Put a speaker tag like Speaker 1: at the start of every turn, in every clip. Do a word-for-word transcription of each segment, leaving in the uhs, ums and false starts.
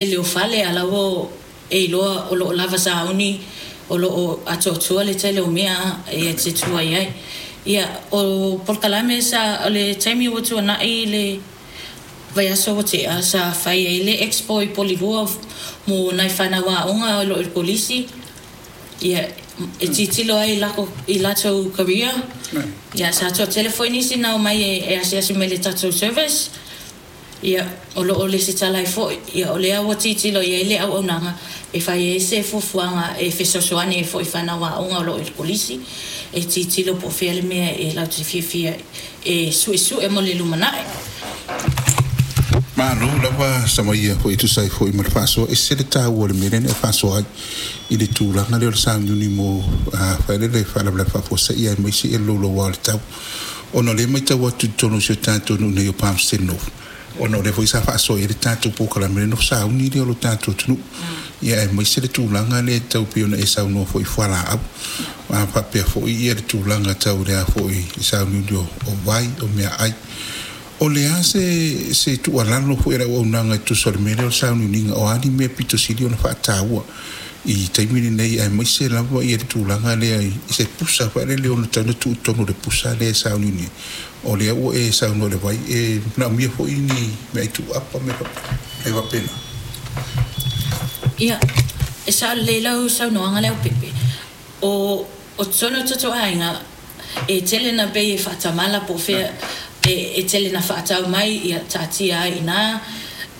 Speaker 1: Tele o fale a la ua e iloa o loo lava sauni, o loo atoatoa le tele o mea e te tua i ai. Ia, o polokalame sa o le taimi ua tuanai le vaiaso ua tea sa fai ai le expo i Porirua mo nai fanau aoga o loo i le kolisi, ia e tilotilo ai i latou career. Ia, sa toatele foi nisi na omai e asiasi mai i le tatou service. Ia, o loo lesitala ai foi. Ia, o lea ua tilotilo i ai le auaunaga e fai ai se fuafuaga e fesoasoani ai foi i fanau aoga o loo i le kolisi e tilotilo po o fea le mea e latou te fiafia e suesue mo le lumanai.
Speaker 2: Malo lava Samaia foi e tusa ai foi ma le faasoa. E ese le taua o le mea lea na e faasoa ai i le tulaga lea o le sauniuni mo failele faalavelave faafuasei aemaise le louloua o le tau, ona o lea e matau atu i totonu o si o tatou nuu nei o Palmerston North, ona o lea foi sa faasoa i ai le tatou polokalame lea, sauni lea o lo tatou atunuu, ia aemaise le tulaga lea tau pei ona e saunoa foi i fualaau, a faapea foi ia le tulaga tau le a foi i sauniuni o vai, o meaai. O le a se se tuualalo foi a le auaunaga e tusa o le mea lea o le sauniuniga, o a ni mea pito sili ona faataua i taimi lenei, aemaise lava ia le tulaga lea i se pusa failele ona tatau ona tuu i totonu o le pusa lea e sauniuni ai? O lea ua e saunoa i le vai, e manaomia foi ni meaai tuuapa ma mea faapena.
Speaker 1: Ia, e sao lelei lau saunoaga lea Pepe. O o totonu o tatou aiga e tele na pei e faatamala po o fea e, e tele na faatau mai, ia taatia ai ina.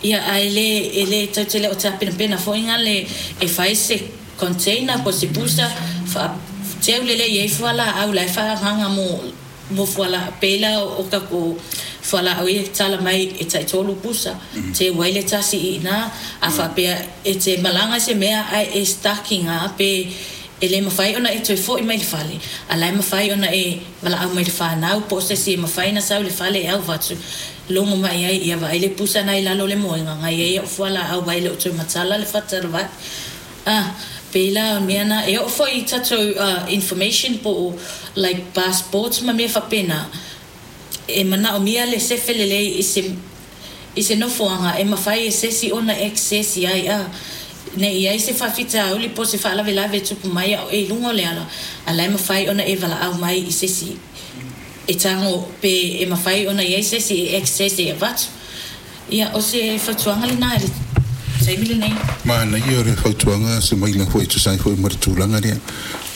Speaker 1: Ia, ae le e le tau tele o tapenapena foi ngale e fai se container po o se pusa faateu lelei ai fualaau la e faaagaaga mo mo fualaau pei la o tatou fualaau ia e tatala mai e taitolu pusa, teu ai le tasi i ina. A faapea e te malaga se mea ae e stuck iga pe e le mafai ona e toe foi mai le fale, a la e mafai ona e valaau mai i le fanau po o se isi e mafai ona sau i le fale e avatu logo mai ai, ia vaai le pusa lena i lalo o le moega na i ai au fualaau aua e le o toe matala le fata o le vai. Ah, pei la o mea na e oo foi i tatou uh, information po o like passports ma mea faapena e manaomia le sefe lelei i se i se nofoaga e mafai e se isi ona access i ai, a nei i ai se faafitauli po o se faalavelave e tupu mai a o e i luga o le ala, a la e mafai ona e valaau mai i se isi e tago pe e mafai ona i ai se isi e access e avatu. Ia, o se fautuaga lena i le taimi lenei.
Speaker 2: Manaia o le fautuaga Semaina foi e tusa ai foi ma le tulaga lea,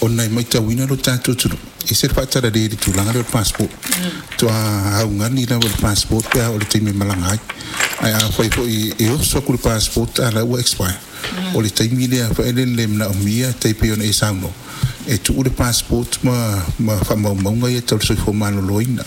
Speaker 2: ona e matauina lo tatou atunuu e se faatalale i le tulaga lea o le passport. Toa augani lava le passport pe a o le taimi e malaga ai, ae afai foi e oso atu le passport a la ua expire, o le taimi lea faelele manaomia tai pei ona e saunoa e tuu le passport ma ma faamaumauga ia tau le soifua maloloina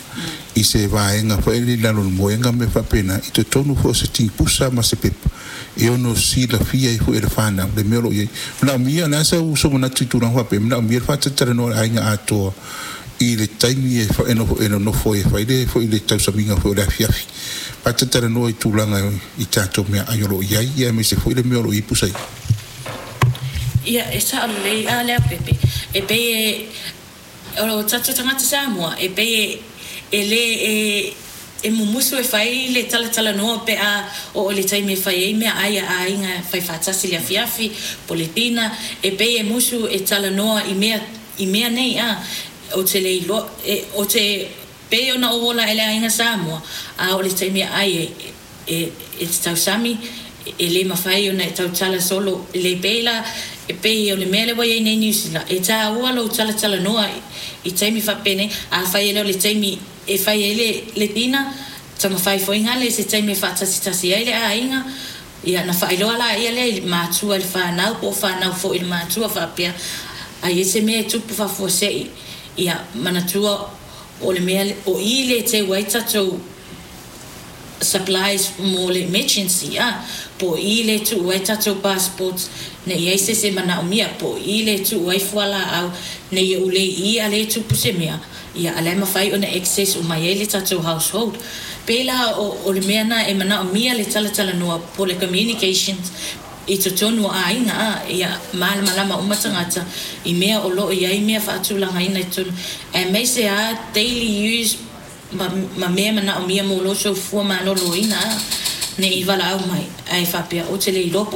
Speaker 2: i se vaega faelele i lalo o le moega ma mea faapena i totonu foi o se tipusa ma se pepa e ono silafia ai foi e le fanau le mea o lo o i ai. Manaomia le a sau sou manatu i tulaga faapea? Manaomia le faatatalanoa o le aiga atoa i le taimi e e nofo e nonofo ai e fai le foi le tausamiga foi o le afiafi, faatatalanoa i tulaga i tatou meaai o lo o i ai, ia aemaise foi le mea o lo o i ai pusa ia.
Speaker 1: Ia, e sao lelei a lea Pepe. E pei e o tatou tagata Samoa e pei e e lē e e mumusu e fai le talatalanoa pe a oo i le taimi e fai ai meaai a aiga, fai faatasi le afiafi po o le dina. E pei e musu e talanoa i mea i mea nei a ou te le iloa e o te pei ona ou ola ai i le aiga Samoa, a oo i le taimi e ai e e e te tausami e le mafai ona e tautala solo le pei la e pei o le mea lea ua i ai nei Niu Sila e tāua lou talatalanoa i taimi faapenei. Afai e le o le taimi e fai ai le le dina, taumafai foi gale i se taimi e faatasitasi ai le aiga, ia na faailoa laia lea i matua i le fanau po o fanau foi i le matua faapea a i ai se mea e tupu faafuasei, ia manatua o le mea o i le teu ai tatou supplies mo le emergency, a po o i le tuu ai tatou passports nei i ai se isi e manaomia, po o i le tuu ai fualaau nei e ulei i a le tupu se mea, ia a la e mafai ona access uma ai le tatou household. Pei la o, o le mea na e manaomia le talatalanoa po o le communications i totonu o aiga, a ia malamalama uma tagata i mea o loo i ai mea faatulagaina i totonu, aemaise a daily use ma, ma mea manaomia mo lou soifua maloloina. A Neʻi valaau mai ae faapea ou te le iloa.